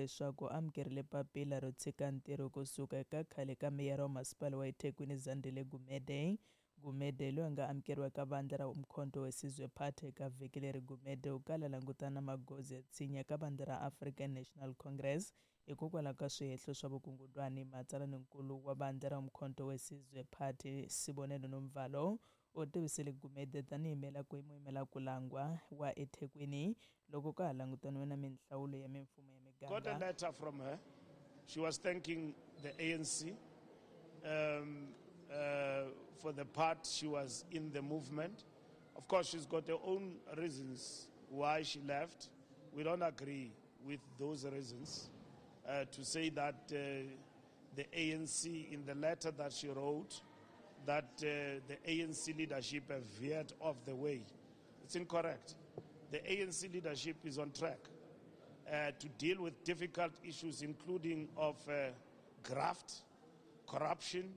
leswaku amukerile papila ro tshika ntirho kusuka eka khale ka meyara wa masipala wa eThekwini Zandile Gumede. Gumede loyi a nga amukeriwa eka vandla ra Umkhonto weSizwe Party eka vhiki leri. Gumede u kala langutana na magoza ya tshinya eka vandla ra African National Congress hikokwalaho ka swihehlo swa vukungundwani. Matsalaninkulu wa vandla ra Umkhonto weSizwe Party Sibonelo Nomvalo u tivisile Gumede tanihi muyimela ku langwa wa eThekwini loko ka ha langutaniwe na minhlawulo ya mimfumo ya Got a miganga. Letter from her. She was thanking the ANC for the part she was in the movement. Of course, she's got her own reasons why she left. We don't agree with those reasons. To say that the ANC, in the letter that she wrote, that the ANC leadership have veered off the way. It's incorrect. The ANC leadership is on track to deal with difficult issues, including of graft, corruption,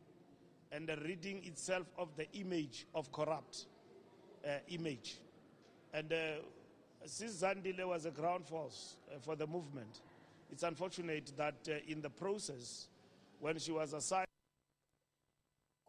and the ridding itself of the image of corrupt image. And since Zandile was a ground force for the movement, it's unfortunate that in the process, when she was assigned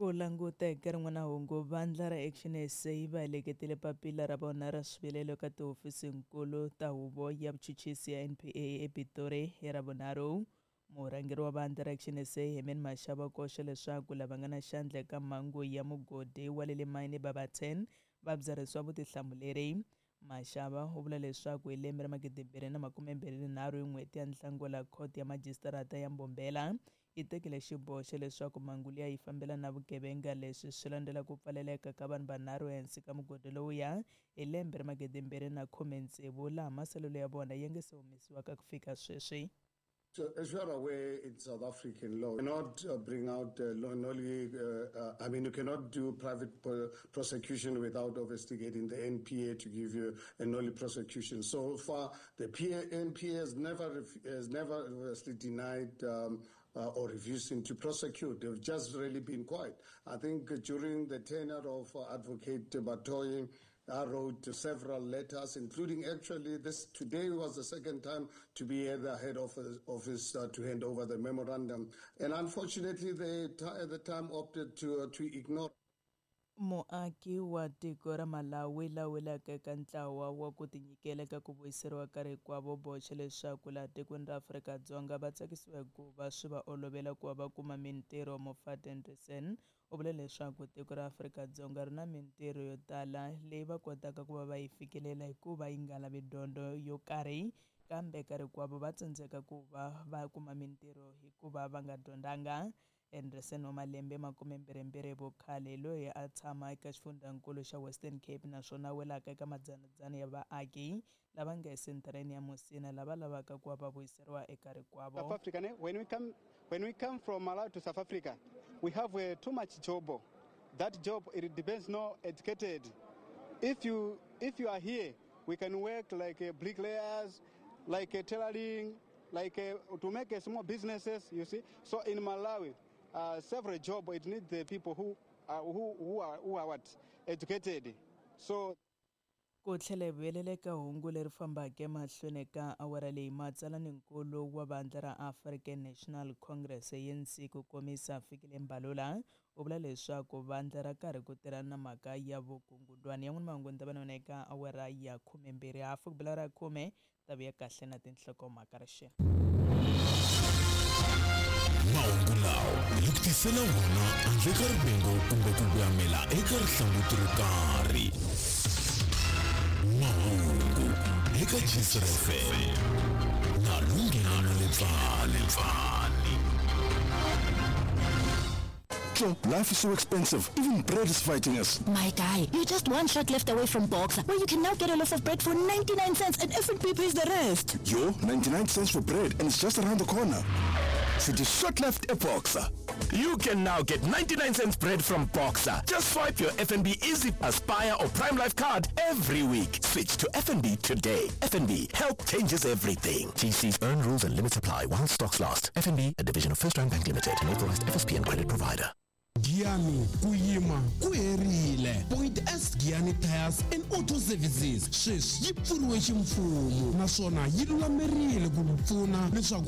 Ku languta eka rin'wana hungu, vandla ra Action SA va heleketile papila ra vona ra swivilelo eka tihofisinkulu ta huvo ya vuchuchisi ya NPA ePitori hi Ravunharhu. Murhangeri wa vandla ra Action SA Herman Mashaba u koxa leswaku lava nga na xandla eka mhangu ya mugodi wa le mayini Barberton va byarhisiwa vutihlamuleri. Mashaba u vula leswaku hi lembe ra 2023 hi n'hweti ya Nhlangula, khoto ya majisitarata ya Mbombela yi tekile xiboho xa leswaku mhangu liya yi fambelana na vugevenga. Leswi swi landzela ku pfaleleka ka vanhu vanharhu ehansi ka mugodi lowuya hi lembe ra 2016, laha masalelo ya vona ya nga se humesiwaka ku fika sweswi. So, as you are aware, in South African law, you cannot bring out nolle, I mean, you cannot do private prosecution without investigating the NPA to give you a nolle prosecution. So far, the NPA has never obviously denied or refusing to prosecute. They've just really been quiet. I think during the tenure of Advocate Batohi, I wrote several letters, including actually this today was the second time to be at the head office to hand over the memorandum. And unfortunately, they at the time opted to ignore. Muaki wa tiko ra Malawi la welaka eka ntlawa wa ku tinyikela eka ku vuyiseriwa ka rikwavo boxa leswaku laha tikweni ra Afrika-Dzonga va tsakisiwa hikuva swi va olovela ku va va kuma mintirho. Mofat Anderson u vule leswaku tiko ra Afrika-Dzonga ri na mintirho yo tala leyi va kotaka ku va va yi fikelela hikuva yi nga lavi dyondzo yo karhi, kambe ka rikwavo va tsandzeka ku va va kuma mintirho hikuva va nga dyondzanga. Anderson wa malembe 22 vukhale, loyi a tshama eka xifundzankulu xa Western Cape naswona welaka eka madzanadzana ya vaaki lava nga esenthareni ya Musina lava lavaka ku va va vuyiseriwa eka rikwavo. South Africa, ne? When we come from Malawi to South Africa, we have too much job. That job, it depends no educated. If you are here, we can work like bricklayers, like tailoring, like to make small businesses. You see. So in Malawi, several job it needs the people who are what, educated. So Ku tlhela hi vuyelela eka hungu leri fambaka emahlweni ka awara leyi, matsalaninkulu wa vandla ra African National Congress, ANC, ku komisa Fikile Mbalula u vula leswaku vandla ra karhi ku tirhana na mhaka ya vukungundwani. Yan'wana mahungu ni ta va na eka awara ya 12, hafu ku bela ra 10, ta vuya kahle na tinhlokomhaka rixeni. Mahungu lawa hi ku tisela wona handle ka rivengo kumbe ku voyamela eka rihlanguti ro karhi. Mahungu eka Gcr FM na Lunghelo Lepfani. Joe, life is so expensive. Even bread is fighting us. My guy, you're just one shot left away from Boxer, where you can now get a loaf of bread for 99 cents and FNB pays the rest. Yo, 99 cents for bread and it's just around the corner. City shot left a Boxer. You can now get 99 cents bread from Boxer. Just swipe your FNB Easy Aspire or Prime Life card every week. Switch to FNB today. FNB, help changes everything. TC's earn rules and limits apply while stocks last. FNB, a division of First Rand Bank Limited, an authorized FSP and credit provider. Giyani, ku yima ku herile. Point S Giyani Tires and Auto Services sweswi yi pfuriwe ximfumo naswona yi lulamerile ku pfuna leswaku